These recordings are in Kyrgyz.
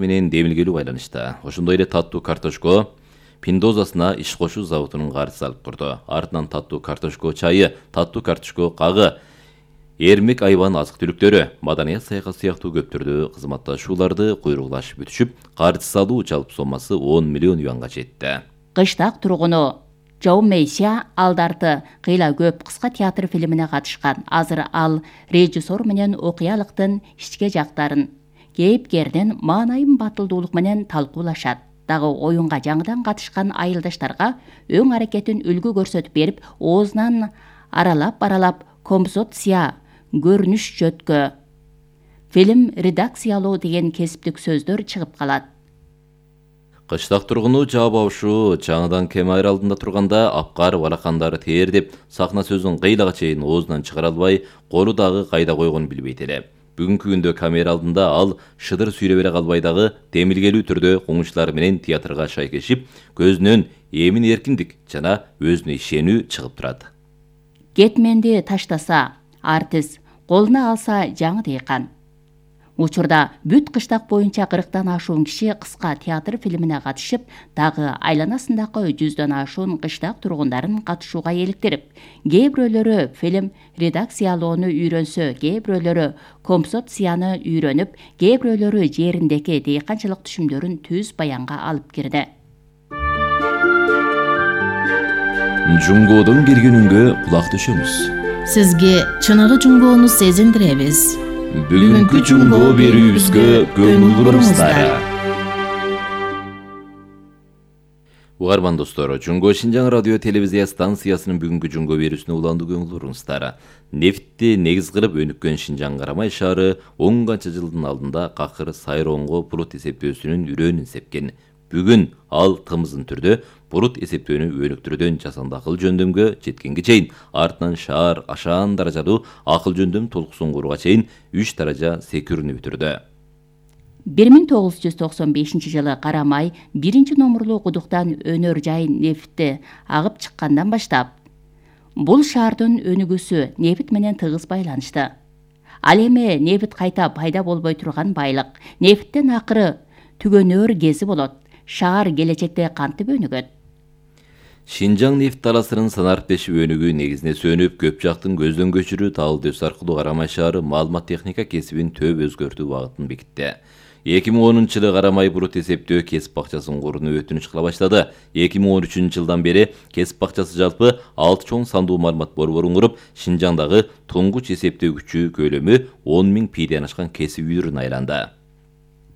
менен демилгелүү байланышта. Ошондой эле таттуу картошко Пиндозасына иш кошуу заводунун каржысы алып турду. Артынан таттуу картошко чайы, таттуу картошко кагы, эрмек айбан азык-түлүктөрү, маданият саякат сыяктуу көптөрдө кызматташууларды куйругулашып бүтүшүп, каржы салуу жалпы соммасы 10 миллион юанга жетти. Кыштак тургуну Жоу Мейся алдарты кыйла көп кыска театр фильмине катышкан. Азыр ал режиссер менен окуялыктын ички жактарын, кейипкердин маанайын батылдуулук менен талкуулашат. Дагы оюнга жаңыдан катышкан айылдаштарга өң аракетин үлгү көрсөтүп берип, оозунан аралап композиция, көрүнүш жөткө, фильм редакциялоо деген кесиптик сөздөр чыгып калат. Кыштак тургуну жаап абышу жаңыдан камера алдында турганда апкар балакандары теердеп, сахна сөзүн кыйлага чейин оозунан чыгара албай, колу дагы кайда койгонун билбейт эле. Бүгүнкү күндө камера алдында ал шыдыр сүйрө бере калбай дагы демилгелүү түрдө коңучулары менен театрга шайкешип, көзүнөн эмин эркиндик жана өзүнө ишенүү чыгып турат. Кетменди таштаса, артист, колуна алса жаңы дыйкан. Учурда бүт кыштак боюнча 40тан ашуун киши кыска театр фильмине катышып, дагы айланасындагы 100дөн ашуун кыштак тургундарын катышууга эликтирип, кээ бирөөлөрү фильм редакциялоону үйрөнсө, кээ бирөөлөрү композицияны үйрөнүп, кээ бирөөлөрү жериндеги дыйканчылык түшүмдөрүн түз баянга алып кирди. Жунгоодон келген үнгө кулак түшөмүз. Сизге чыныгы жунгоону сезиндиребиз. Бүгүнкү жунгоо берүүбүзгө көңүл буруңуздар. Угарман достор, Жунгоо Шинжаң радио телевизия станциясынын бүгүнкү жунгоо берүүсүнө уландуу көңүл буруңуздар. Нефтти негиз кылып өнүккөн Шинжаң Карамай шаары 10 канча жылдын алдында какыр сайроонго бурут эсептөөсүнүн үрөөнүн сепкен. Бүгүн ал тымызын түрдө бурут эсептөөнү өнүктүрүүдөн жасанды акыл жөндөмгө жеткенге чейин, артынан шаар ашаан даражалуу акыл жөндөм толкусун курууга чейин 3 даража секирүүнү бүтүрдү. 1995 жылы Карамай 1-номурлуу кудуктан өнөр жай нефти агып чыккандан баштап, бул шаардын өнүгүүсү нефт менен тыгыз байланышты. Ал эми нефт кайта пайда болбой турган байлык. Нефттен акыры түгөнөр кези болот. Шаар келечекте кантип өнүгөт? Шинжаң нефт таласынын санариптешип өнүгүү негизине сөнүп, көп жактын көздөн көчүрүү талды өс аркылуу Карамай шаары маалымат техника кесибин төп өзгөртүү багытын бекитти. 2010-жылы Карамай бурут эсептөө кесип бакчасын курууну өтүнүч кыла баштады. 2013-жылдан бери кесип бакчасы жалпы 6 чоң сандуу маалымат борборун куруп, Шинжаңдагы туңгуч эсептөө күчү көлөмү 10 000 пиден ашкан кесип үйүрүн айланды.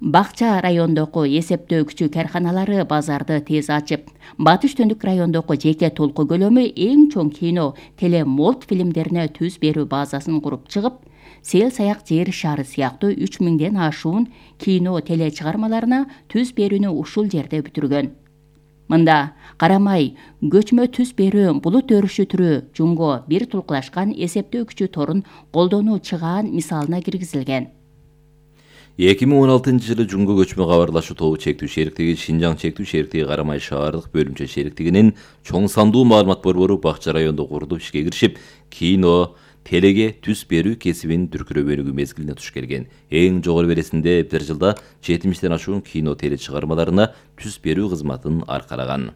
Бакча райондогу эсептөө күчү карханалары базарды тез ачып, Батыш Түндүк райондогу жеке толку көлөмү эң чоң кино, телемолт фильмдерине түз берүү базасын куруп чыгып, Сел саяк жер шары сыяктуу 3000ден ашуун кино теле чыгармаларына түз берүүнү ушул жерде бүтүргөн. Мында Карамай көчмө түз берүү булут өрүшү түрү жунго бир тулкулашкан эсептөө күчү торун колдонуу чыгаан мисалына киргизилген. 2016-жылы Жунго көчмө кабарлашуу тобу чектүү шериктиги Шинжаң чектүү шериктиги Карамай шаардык бөлүмчө шериктигинин чоң сандуу маалымат борбору Бакча райондо курулуп ишке киришип, кино, телеге түз берүү кесибин дүркүрөп өнүгүү мезгилине туш келген. Эң жогору бересинде бир жылда 70ден ашуун кино теле чыгармаларына түз берүү кызматын аркалаган.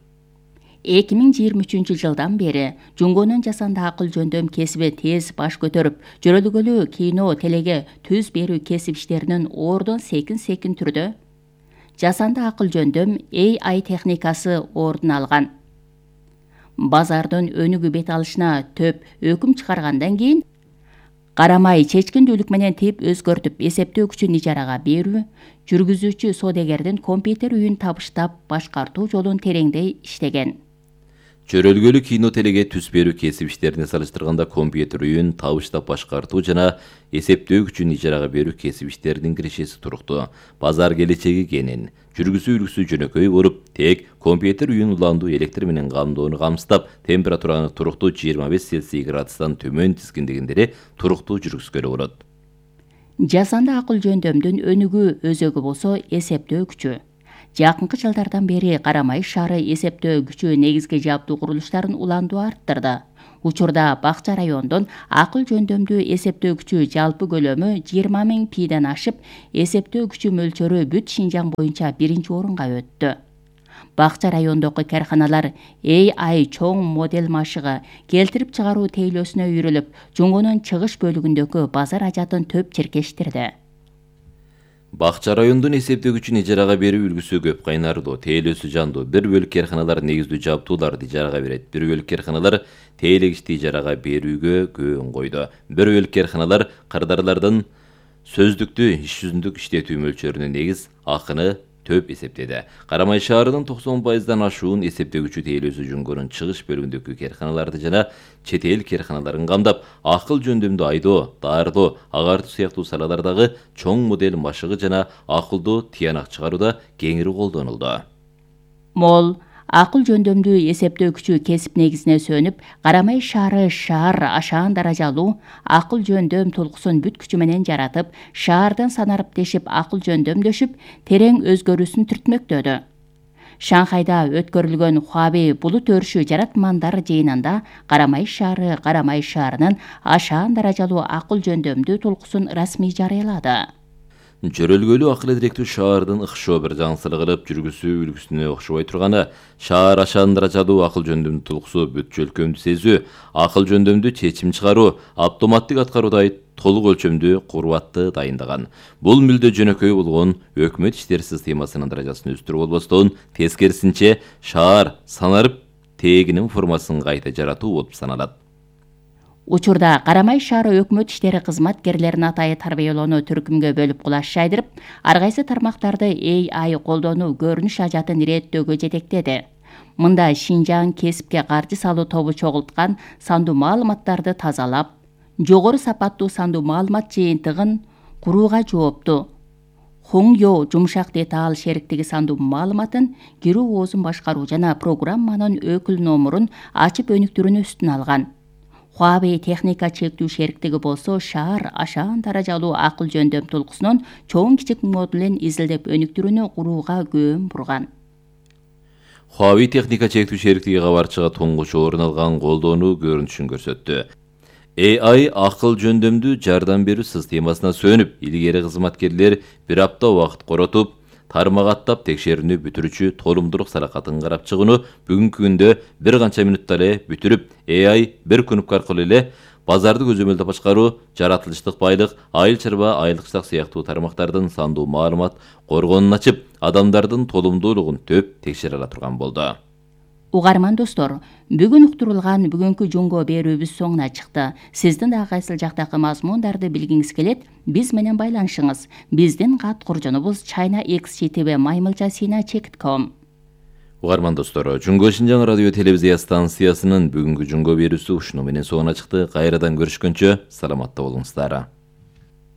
2023-жылдан бери Жунгонун жасанды акыл жөндөм кесиби тез баш көтөрүп, жөрөлгөлүү кино телеге түз берүү кесип иштеринин ордон секин түрдө жасанды акыл жөндөм AI техникасы ордун алган. Базардын өнүгүү бет алышына төп өкүм чыгаргандан кийин Карамай чечкиндүүлүк менен тип өзгөртүп, эсептөө күчүн ижарага берүү, жүргүзүүчү содегердин компьютер үйүн табыштап башкартуу жолун тереңдей иштеген. Чөрөлгөлүү кино телеге түз берүү кесип иштерине салыштырганда компьютер үйүн табыштап башкартуу жана эсептөө күчүн ижарага берүү кесип иштеринин кирешеси туруктуу. Базар келечеги кенен, жүргүзүү үлгүсү жөнөкөй болуп, тек компьютер үйүн уландуу электр менен камдоону камсыздап, температураны туруктуу 25 Цельсий градустан төмөн тизгиндегендери туруктуу жүргүзгөлө болот. Жасанды акыл жөндөмдүн өнүгүү өзөгү болсо эсептөө күчү. жакынкы жылдардан бери Карамай шаары эсептөө күчү негизги жабдуу курулуштарын уландуу арттырды. Учурда Бакча райондон акыл жөндөмдүү эсептөө күчү жалпы көлөмү 20 000 пийден ашып, эсептөө күчү мөлчөрү бүт Шинжаң боюнча 1-орунга өттү. Бакча райондогу карханалар AI чоң модель машыгы келтирип чыгаруу тейлөөсүнө үйрүлүп, Жунгонун чыгыш бөлүгүндөгү базар ажатын төп чиркештирди. Бакча райондун эсептөө күчүн ижарага берүү үлгүсү көп кайнардуу, тейлөөсү жандуу. Бир бөлүк карханалар негиздүү жабдууларды ижарага берет. Бир бөлүк карханалар тейлегичти ижарага берүүгө көөн койду. Бир бөлүк карханалар кардарлардын сөздүктү иш жүзүндүк иштетүү мөлчөрүнө негиз акыны төп эсептеди. Карамай шаарынын 90%дан ашуун эсептөө күчү тейлөөсү Жунгонун чыгыш бөлүгүндөгү карханаларды жана чет эл карханаларын камдап, акыл жөндөмдүү айдоо, даардоо, агартуу сыяктуу салалардагы чоң модель машыгы жана акылдуу тыянак чыгарууда кеңири колдонулду. Мол акыл жөндөмдүү эсептөө күчү кесип негизине сөнүп, Карамай шаар ашаан даражалуу акыл жөндөм толкусун бүт күчү менен жаратып, шаардын санарып тешип акыл жөндөмдөшүп, терең өзгөрүүсүн түртмөктөдү. Шанхайда өткөрүлгөн Хуавей булут өрүшү жаратмандар жыйынында Карамай шаарынын ашаан даражалуу акыл жөндөмдүү толкусун расмий жарыялады. Жөрөлгөлүү акыл эдиректүү шаардын ыкшоо бир жаңсылык кылып жүргүзүү үлгүсүнө окшобой турганы, шаар ашаан даражалуу акыл жөндөмдүү толкусу бүт жөлкөмдү сезүү, акыл жөндөмдүү чечим чыгаруу, автоматтык аткаруудай толук өлчөмдүү курбатты дайындаган. Бул мүлдө жөнөкөй болгон өкмөт иштери системасынын даражасын өстүрүү болбостон, тескерисинче шаар санарып тегинин формасын кайта жаратуу болуп саналат. Учурда Карамай шаары өкмөт иштери кызматкерлерин атайы тарбиялоону түркүмгө бөлүп кулаш жайдырып, ар кайсы тармактарды AI колдонуу көрүнүш ажатын иреттөөгө жетектеди. Мында Шинжаң кесипке каржы салуу тобу чогулткан сандуу маалыматтарды тазалап, жогору сапаттуу сандуу маалымат жыйынтыгын курууга жоопту. Хоңё жумшак деталь шериктиги сандуу маалыматын, кирүү оозун башкаруу жана программанын өкүл номурун ачып өнүктүрүүнү үстүнө алган. Хуавей техника чектүү шериктиги болсо шаар ашаан даражалуу акыл жөндөм толкусунун чоң кичик модулин изилдеп өнүктүрүүнү курууга көөн бурган. Хуавей техника чектүү шериктиги кабарчыга туңгуч орун алган колдонуу көрүнүшүн көрсөттү. AI акыл жөндөмдүү жардам берүү системасына сөнүп, илгери кызматкерлер бир апта убакыт коротуп, тармак аттап текшерүүнү бүтүрүүчү толумдуулук саракатын карап чыгууну бүгүнкү күндө бир канча мүнөттө эле бүтүрүп, AI бир кнопка аркылуу эле базарды көзөмөлдөп башкаруу, жаратылыштык байлык, айыл чарба, айылдык сыяктуу тармактардын сандуу маалымат коргонун ачып, адамдардын толумдуулугун төп текшере ала турган болду. Угарман достор, бүгүн уктурулган бүгүнкү жунго берүүбүз соңуна чыкты. Сиздин да кайсыл жактагы мазмундарды билгиңиз келет, биз менен байланышыңыз. Биздин кат куржунубуз china@maymilcha.com. Угарман достор, Жунго Шинжаң радио телевизия станциясынын бүгүнкү жунго берүүсү ушуну менен соңуна чыкты. Кайрадан көрүшкөнчө саламатта болуңуздар.